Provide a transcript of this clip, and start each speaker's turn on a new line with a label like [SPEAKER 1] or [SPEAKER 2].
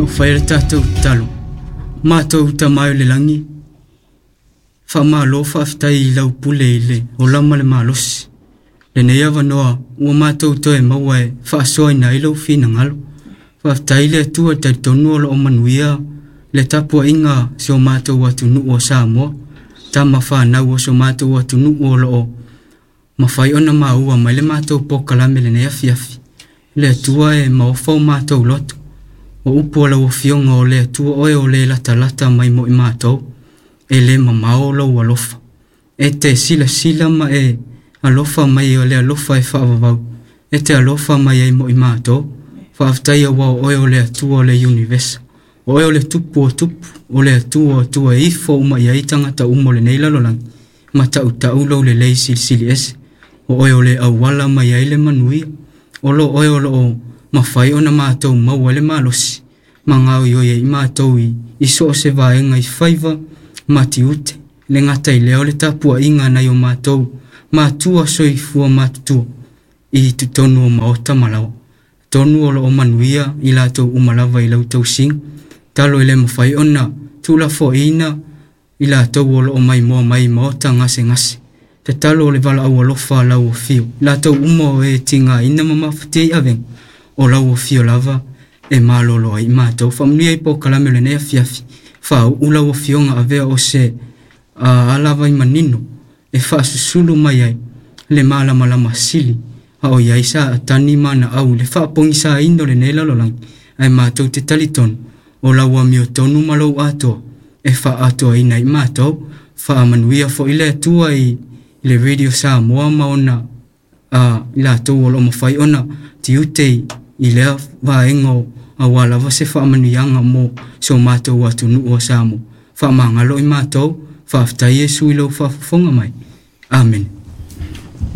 [SPEAKER 1] Na ou faia le tatou tatalo. Matou Tama e o le lagi, faamalo faafetai i lau pule i le ola ma le malosi. Lenei avanoa ua matou toe maua e faasoaina ai lou finagalo. Faafetai le Atua e talitonu o lo o manuia le tapuaiga a si o matou atunuu o Samoa, tama fanau o si o matou atunuu o lo o mafai ona maua mai le matou polokalame i lenei afiafi. Le Atua e maofa o matou loto. O upu a lau Afioga o le Atua oe o le latalata mai mo i matou, e le mamao lou alofa. E te silasila ma e alofa mai o le alofa e faavavau, e te alofa mai ai mo i matou. Faafetai aua o oe o le Atua o le Iunivesa. O oe o le Tupu o Tupu, o le Atua o Atua e ifo uma i ai tagata uma o lenei lalolagi, ma tautau lou lelei silisili ese. O oe o le auala mai ai le manuia. O lo oe o lo o mafai ona matou maua ai le malosi, ma gaoioi ai matou i so o se vaega i faiva ma tiute. E le gata i lea o le tapuaiga a nai o matou matua soifua matutua i totonu o maota ma laoa. Atonu o lo o manuia i latou uma lava i lau tausiga. Tatalo e le mafai ona tuulafoaiina i latou o lo o maimoa mai i maota gasegase. Tatalo o le valaau alofa a lau afio, i latou uma o e tigaina ma mafatia i avega, o lau afio lava e malolo ai i matou. Faamanuia i polokalame o lenei afiafi, faauu lau afioga avea o se alavai manino e faasusulu mai ai le malamalama sili a o i ai Satani ma ana au i le faapogisaina o lenei lalolagi, ae matou te talitonu o lau amiotonu ma lou atoa e faaatoaina ai matou. Faamanuia foi le Atua i le Radio Samoa ma ona i latou o lo o mafai ona tiute i lea vaega aua lava se faamanuiaga mo si o matou atunuu o Samoa. Faamagalo i matou, faafetai Iesu i lou faafofoga mai. Amene.